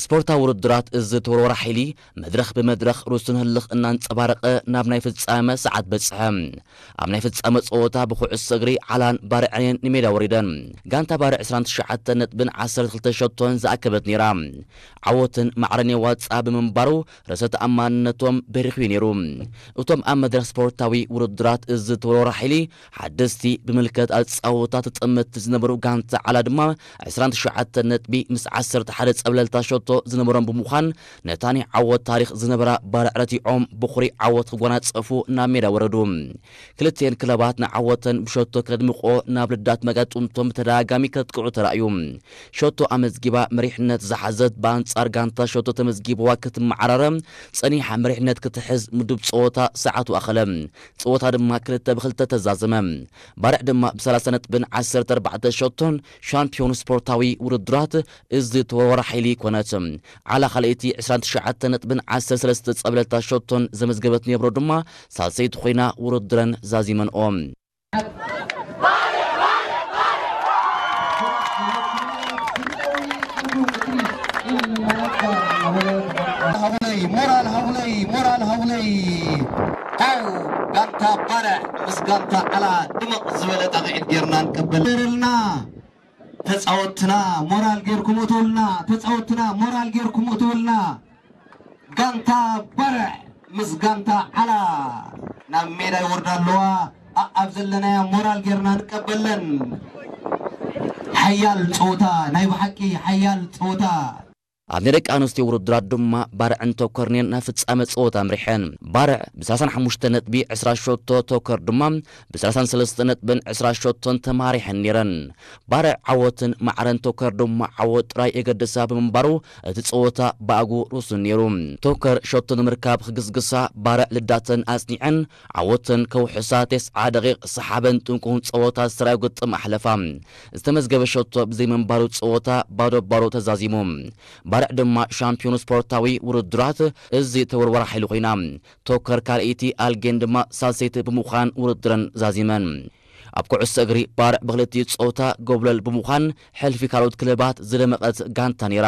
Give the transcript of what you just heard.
ስፖርታዊ ውድድራት እዚ ተወርዋሪ ሓይሊ መድረኽ ብመድረኽ ርእሱን ህልኽ እናንጸባረቐ ናብ ናይ ፍጻመ ሰዓት በጽሐ። ኣብ ናይ ፍጻመ ጸወታ ብኩዕሶ እግሪ ዓላን ባርዕን ንሜዳ ወሪደን። ጋንታ ባርዕ ዕስራን ትሽዓተ ነጥብን ዓሰርተ ክልተ ሸቶን ዝኣከበት ነይራ። ዓወትን ማዕረን የዋጽኣ ብምንባሩ ርእሰ ተኣማንነቶም በሪኹ እዩ ነይሩ። እቶም ኣብ መድረኽ ስፖርታዊ ውድድራት እዚ ተወርዋሪ ሓይሊ ሓደስቲ ብምልከት ኣጻወታ ተጠመትቲ ዝነበሩ ጋንታ ዓላ ድማ ዕስራን ትሽዓተ ነጥቢ ምስ ዓሰርተ ሓደ ጸብለልታ ሸቶ ዝነበሮም ብምዃን ነታ ናይ ዓወት ታሪኽ ዝነበራ ባርዕ ረቲዖም ብኹሪ ዓወት ክጓናጸፉ ናብ ሜዳ ወረዱ። ክልቲኤን ክለባት ንዓወተን ብሸቶ ከድምቆ ናብ ልዳት መጋጥምቶም ብተደጋጋሚ ከጥቅዑ ተራእዩ። ሸቶ ኣመዝጊባ መሪሕነት ዝሓዘት ብኣንጻር ጋንታ ሸቶ ተመዝጊብዋ ክትመዓራረ ጸኒሓ መሪሕነት ክትሕዝ ምዱብ ጸወታ ሰዓቱ ኣኸለ። ጸወታ ድማ ክልተ ብክልተ ተዛዘመ። ባርዕ ድማ ብሰላሳ ነጥብን ዓሰርተ ኣርባዕተ ሸቶን ሻምፒዮን ስፖርታዊ ውድድራት እዚ ተወርዋሪ ሓይሊ ኮነት። ዓላ ካልኣይቲ ዕስራን ትሽዓተ ነጥብን ዓሰርተ ሰለስተ ጸብለልታ ሸቶን ዘመዝገበት ኔብሮ ድማ ሳልሰይቲ ኮይና ውድድረን ዛዚመንኦ። ሃቡለይ ሞራል ሃቡለይ ሞራል ሃቡለይ። ኣው ጋንታ ባርዕ ምስ ጋንታ ዓላ ድምቕ ዝበለ ጣቕዒት ጌርና ንቀበል ርልና። ተጻወትና ሞራል ጌርኩም እትውልና። ተጻወትና ሞራል ጌርኩም እትውልና። ጋንታ ባርዕ ምስ ጋንታ ዓላ ናብ ሜዳ ይወርዳ ኣለዋ። ኣኣብ ዘለናያ ሞራል ጌርና ንቀበለን። ሓያል ጸወታ፣ ናይ ብሓቂ ሓያል ጸወታ። ኣብ ናይ ደቂ ኣንስትዮ ውድድራት ድማ ባርዕን ተኮርኔን ናብ ፍጻመ ጸወታ ኣምሪሐን። ባርዕ ብሰላሳን ሓሙሽተ ነጥቢ ዕስራ ሸቶ፣ ተኮር ድማ ብሰላሳን ሰለስተ ነጥብን ዕስራ ሸቶን ተማሪሐን ነይረን። ባርዕ ዓወትን ማዕረን ተኮር ድማ ዓወት ጥራይ የገድሳ ብምንባሩ እቲ ጸወታ ብኣግኡ ርሱን ነይሩ። ተኮር ሸቶ ንምርካብ ክግስግሳ ባርዕ ልዳተን ኣጽኒዐን ዓወተን ከውሕሳ ተስዓ ደቂቕ ሰሓበን ጥንቁን ጸወታ ዝተራዮ ግጥም ኣሕለፋ። ዝተመዝገበ ሸቶ ብዘይምንባሩ ጸወታ ባዶ ባዶ ተዛዚሙ። ባርዕ ድማ ሻምፒዮን ስፖርታዊ ውድድራት እዚ ተወርዋሪ ሓይሊ ኮይና። ቶከር ካልኣይቲ ኣልጌን ድማ ሳልሰይቲ ብምዃን ውድድረን ዛዚመን። ኣብ ኩዕሶ እግሪ ባርዕ ብክልቲኡ ጸወታ ጎብለል ብምዃን ሕልፊ ካልኦት ክለባት ዝደመቐት ጋንታ ነይራ።